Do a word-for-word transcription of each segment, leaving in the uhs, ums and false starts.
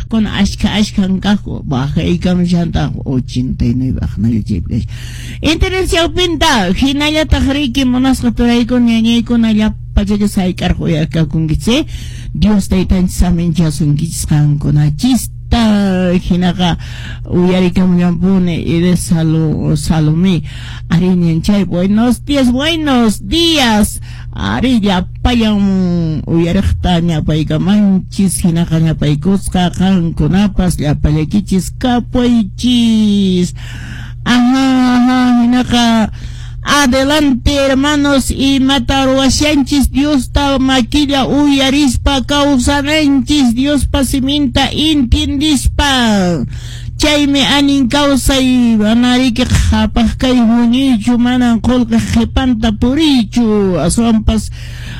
uyariqkuna ashka ashkan kaqku bajaykamushantaq ochenta y nueve aqnalla chaypi internet chawpinta hinallataq riki munasqa turaykuna ñañaykuna llapachaka sayk'arqa uyarkakunkichis Dios taytanchis saminchasunkichis qankunachista hinaqa uyarikamullanpuni de Salo, Salomé ariñanchay buenos días buenos días ari llapallan uyariqta ñapaykamanchis hinaqa ñapaykusqa qankunapas llapallaykichis kapuychis ajá ajá hinaqa adelante hermanos imata ruwashanchis Diosta makilla uyarispa kawsananchis Diospa siminta intindispa chaymi anin kawsay manariki qhapaq kay huñiychu manan qullqi qhipanta puriychu aswanpas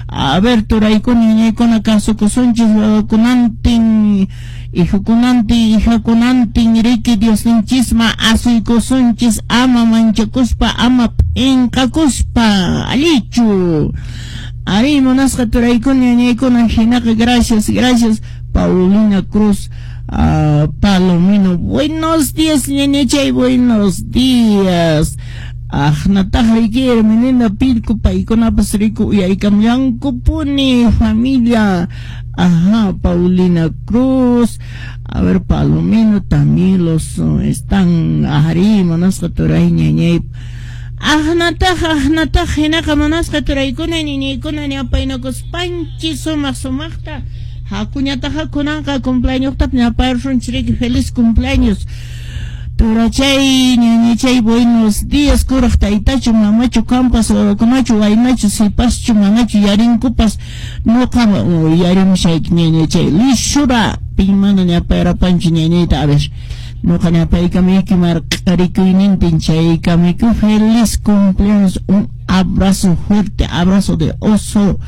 a ver turaykuna ñañaykuna kasukusunchis wawakunantin hijukunantin hijakunantin riki Diosninchisma asuykusunchis ama manchakuspa ama p'inqakuspa allichu ari munasqa turaykuna ñañaykuna hinaqa gracias gracias Paulina Cruz uh, Palomino buenos días ñañachay buenos días Aqnataq riki Hermelinda Pilco paykunapas riku uyarikamllankupuni familia ajá Paulina Cruz a ver Palomino también los uh, están ari munasqa turay ñañay Aqnataq aqnataq hinaqa munasqa turaykuna ñañaykuna ñapaynakuspanchis sumaq sumaqta hakuñataqa kunanqa cumpleaños ñapayrusunchis riki feliz cumpleaños Turachay, ñañachay, buenos días, kuraq taytachu, mamachu, kampas, wawakunachu, waynachu, sipaschu, manachu, yarinkupas, nuqa yarimushayki ñañachay, lishura, pinmana ñapayrapanchu ñañayta, a ver, nuqa ñapaykamuyki marq'arikuynintin chaykamuyku, feliz cumpleaños, un abrazo fuerte, abrazo de oso.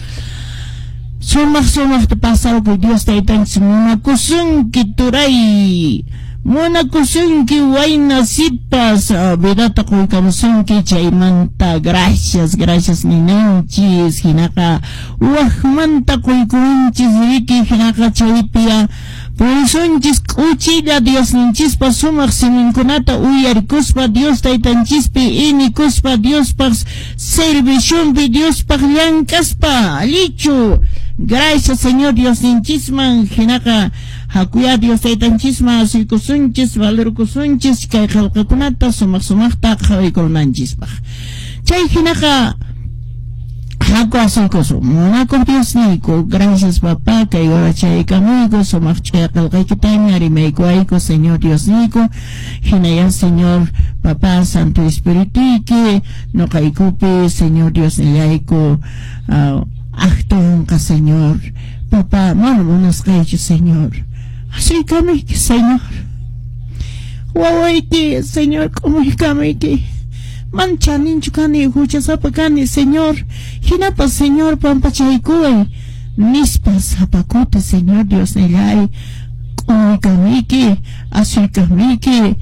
Sumaq sumaqta pasarkuy Dios taytanchis munakusunki turay munakusunki wayna sipas vidata quykamusunki chaymanta gracias gracias ninanchis hinaqa waqmanta quykuwanchis riki hinaqa chaypiya purisunchis k'uchilla Diosninchispa sumaq siminkunata uyarikuspa Dios taytanchispi inikuspa Diospaq serviciompi Diospaq llank'aspa allichu gracias Señor Diosninchisman hinaqa hakuya Dios taytanchisman asuykusunchis valorkusunchis kay qillqakunata sumaq sumaqta qhawaykunanchispaq chay hinaqa haku asuykusun munakuq Diosniyku gracias papá kay warachaykamuyku sumaq ch'uya qillqaykitami rimaykuwayku Señor Diosniyku hinaya Señor papá Santo Espirituyki nuqaykupi Señor Diosnillayku uh, actunqa Señor papá mana munasqaychu Señor asuykamuyki Señor wawayki Señor k'umuykamuyki man chaninchu kani huchasapa kani Señor hinapas Señor pampachaykuway nispa sapa kuti Señor Diosnillay k'umuykamuyki asuykamuyki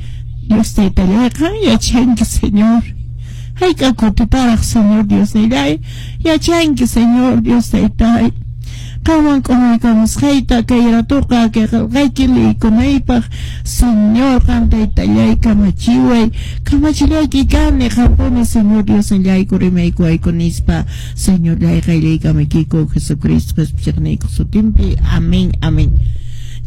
Dios taytallay qan yachanki Señor hayk'a kutitaraq Señor Diosnillay yachanki Señor Dios taytay qanwan k'umuykamusqayta kay ratuqa kay qillqayki liykunaypaq Señor qan taytallay kamachiway kamachillayki kani qampuni Señor Diosnillayku rimaykuwayku nispa Señorllay qayllaykamaykiku Jesucristo qhispichiqniykuq sutinpi amén amén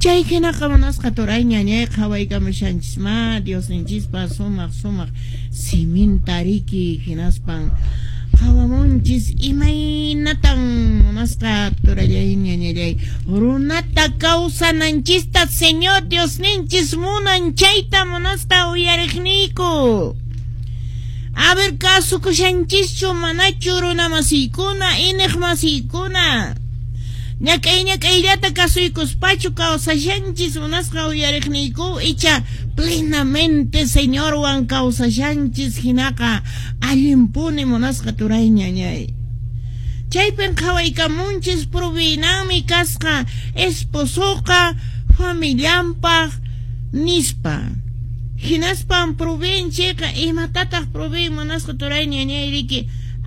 chay hinaqa munasqa turay ñañay qhawaykamushanchis ma Diosninchispa sumaq sumaq siminta riki hinaspan qhawamunchis imaynatan munasqa turallay ñañallay runata kawsananchista Señor Diosninchis munan chayta munasqa uyariqniyku a ver kasukushanchischu manachu runa masiykuna iniq masiykuna ñak'ay ñak'ayllata kasuykuspachu kawsashanchis munasqa uyariqniyku icha plenamente Señorwan kawsashanchis hinaqa allinpuni munasqa turay ñañay chaypin qhawaykamunchis provinanmi kasqa esposoqa familianpaq nispa hinaspan proveen chayqa imatataq proveen munasqa turay ñañay riki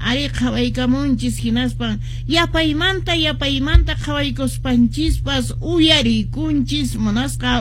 ari qhawaykamunchis hinaspan yapaymanta yapaymanta qhawaykuspanchispas uyarikunchis munasqa